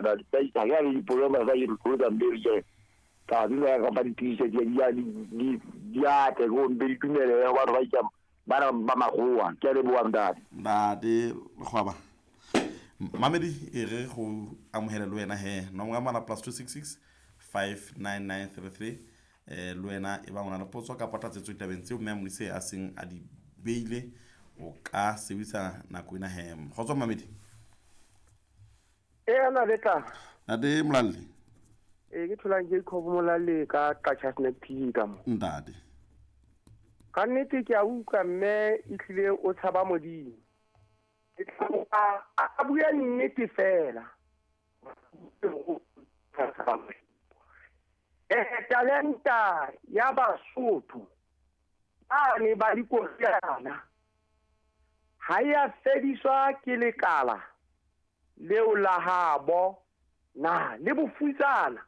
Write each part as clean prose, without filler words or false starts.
Ntate ha ke na le dipoloma tsa ke tlo mpe ke tla dula ka ba ditiise di di di di atle go mpe di tumele go batho ba itsa bana ba magoa ke a leboa ntate. Ntate Lekgwaba Mamedi e re go amohele le wena he nomoro ya mala plus 266 59933 eh le wena e bang o na le potso kapa tlatsetso ditabeng tseo mme a Modise a seng a di beile o ka sebedisa nako ena he kgotso Mamedi. E na le tla. Ntate Molalle. E ke tholang Jacob Molalle ka Qacha Snack TV ka mo. Ntate. Ka nnete ke a utlwa mme e hlile o tshaba Modimo. Ke tla a bua nnete fela. Eh talenta ya Basotho ba ne ba dikoriana ha ya fediswa ke lekala leo la habo na le bofutsana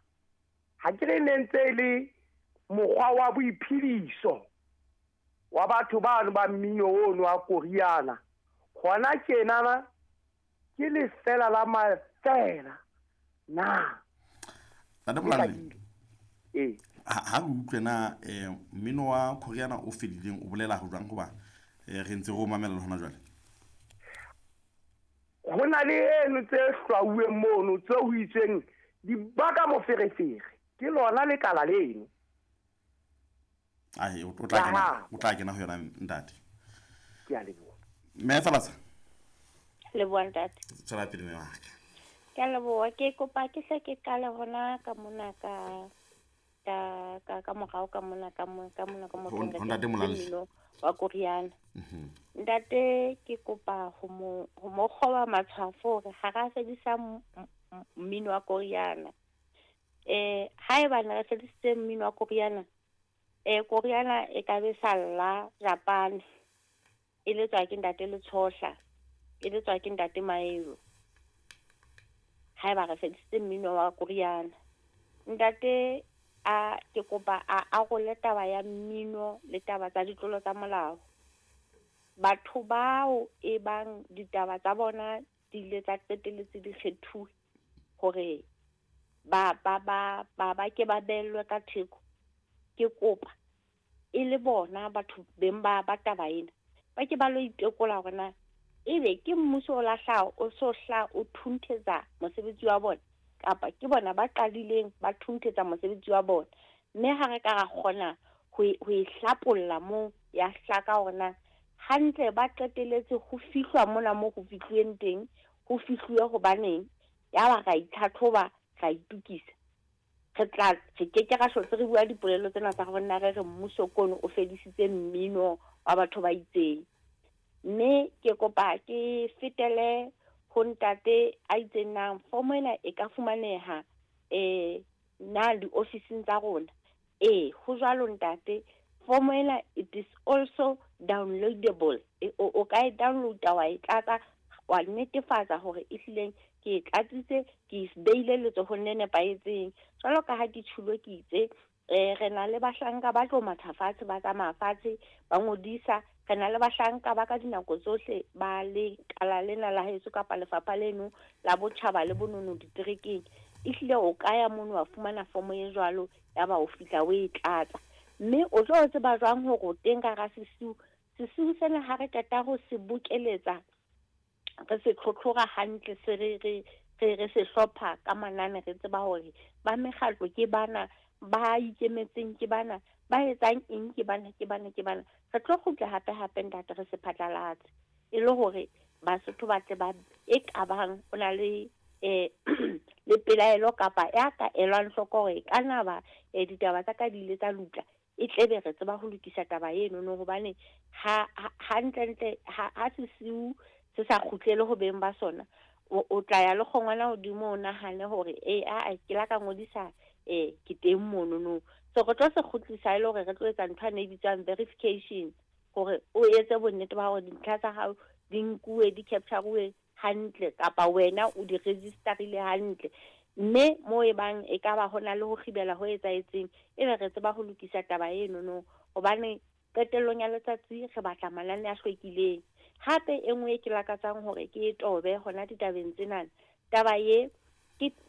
ha ke re ne ntse e le mokgwa wa boiphediso wa batho bano ba mmino ono wa koriana gona tjenana ke lefela la mafela na. Ntate Molalle, ee ha re utlwe na mmino wa koriana o fedileng o bolela ho jwang hoba re ntse re o mamela le hona jwale? Ho na le eno tse hlwauweng mono tse ho itsweng di baka moferefere ke lona lekala leno. Ai o tla kena, o tla kena ho yona ntate. Ke a leboha. Mme Falatsa. Leboha ntate. Tswela pele mme wa ka. Ke a leboha, ke kopa ke hle ke qale hona ka mona ka ka ka ka morao ka mona ka mo ka mona ka motho Ho ntate Molalle. Mmino wa koriana. Ntate ke kopa ho mo kgoba matshwafo hore ha ra fedisa mmino wa koriana. Haeba ne re fedisitse mmino wa koriana, koriana e ka be sa lla Japan e letswa ke ntate Letshohla, e letswa ke ntate Maelo. Haeba re fedisitse mmino wa koriana, ntate a ke kopa a arole taba ya mmino le taba tsa ditlolo tsa molao. Batho bao e bang ditaba tsa bona di ile tsa qetelletse di kgethuwe hore ba ba ba ba ba ke ba bellwe ka theko, ke kopa e le bona batho beng ba ba taba ena ba ke ba lo itekola hore na ebe ke mmuso o lahla o so hla o thunthetsa mosebetsi wa bona kapa ke bona ba qadileng ba thunthetsa mosebetsi wa bona. Mme ha re ka ra kgona ho e hlapolla moo ya hlaka hore na hantle ba qeteletse ho fihlwa mona mo ho fihluweng teng, ho fihluwe hobaneng, ya ba ra itlhatlhoba ra itukisa. Re tla re ke ke ra hlotse re bua dipolelo tsena tsa hore na re re mmuso kono o fedisitse mmino wa batho ba itseng. Mme ke kopa ke fetele ho ntate a itseng nang fomo ena e ka fumaneha na diofising tsa rona. Ho jwalo ntate, fomo ena it is also downloadable. O ka e downloada wa e tlatsa wa netefatsa hore e hlileng ke e tlatsitse, ke e beile letsohong le nepahetseng. Jwalo ka ha ke tjhulo ke itse re na le bahlanka ba tlo matha fatshe, ba tsamaya fatshe, ba ngodisa. Re na le bahlanka ba ka dinako tsohle ba lekala lena la heso kapa lefapha leno la botjhaba le bonono diterekeng. Ehlile o ka ya mono wa fumana fomo e jwalo, ya ba o fihla o e tlatsa. Mme o tlo tseba jwang hore o teng ka hara sesiu? Sesiu sena ha re qeta ho se bokeletsa, re se tlhotlhora hantle, se re re re se hlopha ka manane, re tseba hore ba mekgatlo ke bana, ba ikemetseng ke bana, ba etsang eng ke bana, ke bana, ke bana. Re tlo kgutla hape hape ntate re se phatlalatse e le hore Basotho ba tle ba e kabang o na le le pelaelo kapa ya ka elwang hloko hore e ka na ba ditaba tsa ka di ile tsa lutla, e tlebe re tseba ho lokisa taba eno no, hobane ha hantlentle ha sesiu se sa kgutlele ho beng ba sona, o tla ya le kgongwana hodimo o nahane hore a ke la ka ngodisa ke teng mono no. So re tlo se kgutlisa e le hore re tlo etsa ntho e bitswang verification, hore o etse bonnete ba hore dintlha tsa hao di nkuwe, di capture-uwe hantle kapa wena o di register-ile hantle. Mme mo e bang e ka ba hona le ho kgibela ho etsahetseng, ebe re tseba ho lokisa taba eno no, hobane qetellong ya letsatsi re batla manane a hlwekileng. Hape e nngwe e ke lakatsang hore ke e tobe hona ditabeng tsena, taba e ke